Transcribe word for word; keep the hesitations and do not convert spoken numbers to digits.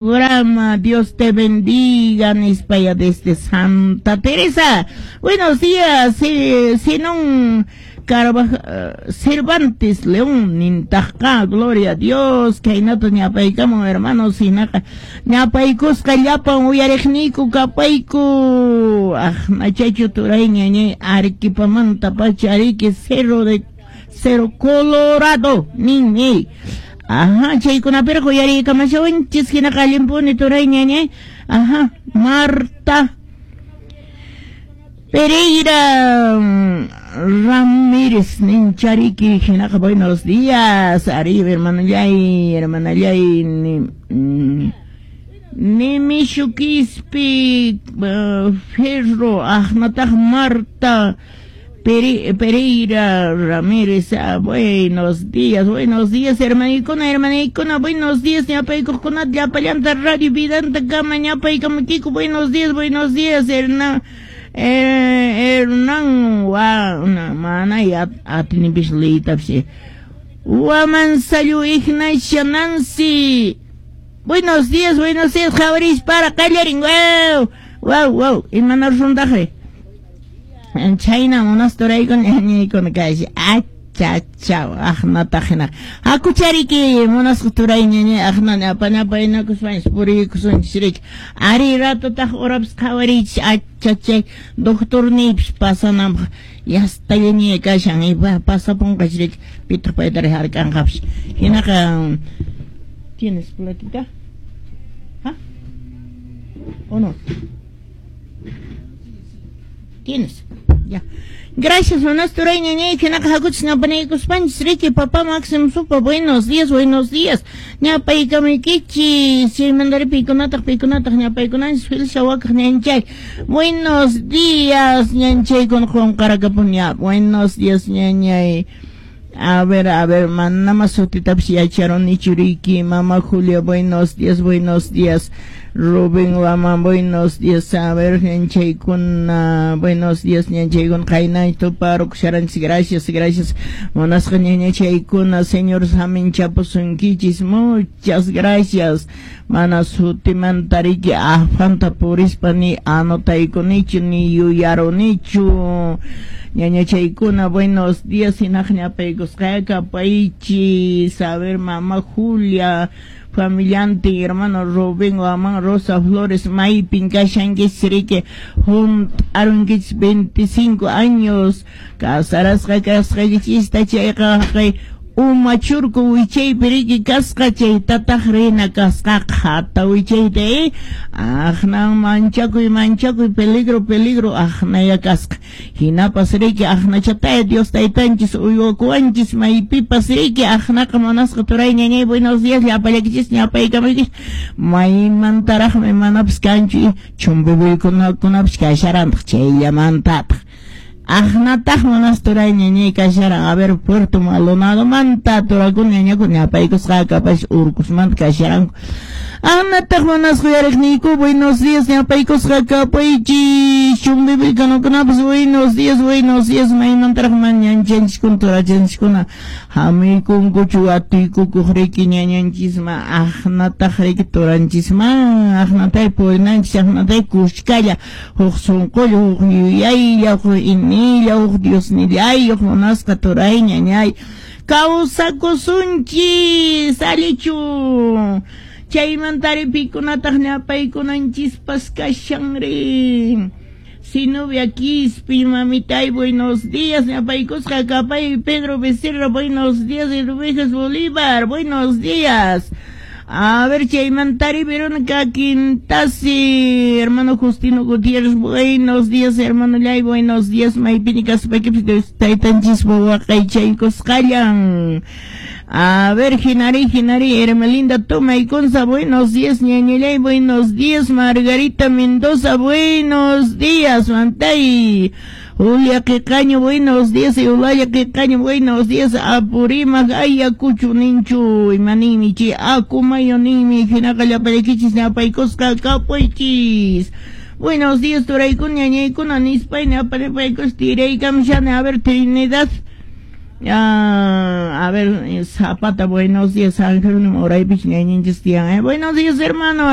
Programa. Dios te bendiga, nispaya desde Santa Teresa. Buenos días, Zenón Carvajal, Cervantes León, nintaqqa, gloria a Dios, khaynata ñapaykamun, hermanos, hinaqa ñapaykusqa llapan uyariqniyku kapayku. Aqnachachu turay ñañay Arequipamanta pacha ariki Cerro de Cerro Colorado, ninmi. Ajá, chaykunapiraq uyariykamashawanchis hinaqa allinpuni turay ñañay. Ajá, Marta Pereira Ramírez ninchariki hinaqa buenos días, arriba hermanallay, hermanallay, ni, mm, Nimishu Quispe uh, Ferro, aqnataq Marta Pere, Pereira Ramírez, ah, buenos días, buenos días, hermanikuna, hermanikuna, buenos días, ñapaykuqkunata llapallanta Radio Vidanta kama ñapaykamukiku, buenos días, buenos días, Hernán, eh, Hernán, wa, mana atinipis liytapis, Wamansayu Ignacia Nancy, buenos días, buenos días, qhawaris para qallarin, wow, wow, wow, imana runtaqri. Chayna munasturaykuna ñañaykuna kashi achachaw aqnataq hina hakuchariki munasqa turay ñañay aqna ñapañapaynakuspanchis puriykusunchis riki ari ratutaq urapas qhawariychis achachay doctorniypis pasananpaq yastallaña kashan pasapunqach riki pitaq paytari hark'anqapis hinaqa. ¿Tienes platita? ¿Ah? ¿O no? ¿Tienes? Ya. Gracias, buenas turay ñañay, hinaqa hakuchis ñapanaykuspanchis riki papá Máximo Supa, buenos días, buenos días. Ñapaykamaykichis, chaymantari pikunataq pikunataq ñapaykunanchis Felicia wakaq ñanchay. Buenos días, ñanchaykuna qunqarakapun ña. Buenos días, ñañay. A ver, a ver, manama sutitapis yacharunichu riki, mamá Julia, buenos días, buenos días. Rubén Guamán, buenos días, a ver, ñanchaykuna, buenos días, ñanchaykuna, qayna tuparukusharanchis, gracias, gracias. Munasqa ñañachaykuna, señor saminchapusunkichis, muchas gracias. Mana sutimanta riki afanta purispa ni anotaykunichu ni yuyarunichu. Ñañachaykuna, buenos días, hinaq ñapaykusqaya kapaychis, a ver, mamá Julia, familiante, hermano Rubén Guamán, Rosa Flores, maypin kashankichis riki hunt'arunkichis veinticinco años, casarasqa kasqaykichista chayqa uma churku wichaypi riki kasqa chaytataq rina kasqa qhata wichayta eh aqnan manchakuy manchakuy peligro peligro aqnaya kasqa hinapas riki aqnachataya Dios taytanchis uywakuwanchis maypipas riki aqnaqa munasqa turay ñañay buenos días llapallakichis ñapaykamaykichis maymantaraqmi manapas kanchu chumbibuykunakunapis kasharantaq chayllamantataq aqnataq manas turay ñañay kasharan a ver Puerto Maldonado manta turakuna ñañakuna ñapaykusqa kapash urkusmanta kasharanku aqnataq manas uyariqniyku buenos días ñapaykusqa kapaychis chumbibilkanakunapas buenos días buenos días maymantaraq mañanchanchiskuna turachanchiskuna hamuykunkuchu atuykukuq riki ñañanchisman aqnataq riki turanchisman aqnatay purinanchis aqnatay kushkalla huk sunqulla huk yuyaylla huk inilla huk Diosnillayuq munasqa turay ñañay kawsakusunchis allichu chaymantari pikunataq ñapaykunanchispas kashanri. Sinubia Quispe, mamitay, buenos días, ñapaykusqa kapay Pedro Becerra, buenos días, Hervejas Bolívar, buenos días. A ver, chaymantari Verónica Quintasi, hermano Justino Gutiérrez, buenos días, hermano Lay, buenos días, maypini kaspaykipas taytanchis waqaychaykusqallan. A ver, Ginari, Ginari, Hermelinda Toma y Conza, buenos días, ñañalay, buenos días, Margarita Mendoza, buenos días, Mantay. Julia Quecaño, buenos días, Eulalia Quecaño, buenos días, Apurímac, Ayacucho, Ninchu, Imanimichi, Acumayo, Nimi, Jinacallapariquichis, Napaycosca, Capuichis. Buenos días, Turaykuna, ñañaykuna, Nispay, Naparepaycos, Tiraykamshana, a ver, Trinidad. Ah, a ver, Zapata, buenos días, San Jerónimo, Oraypich, ñañinchis tiyan, eh. Buenos días, hermano.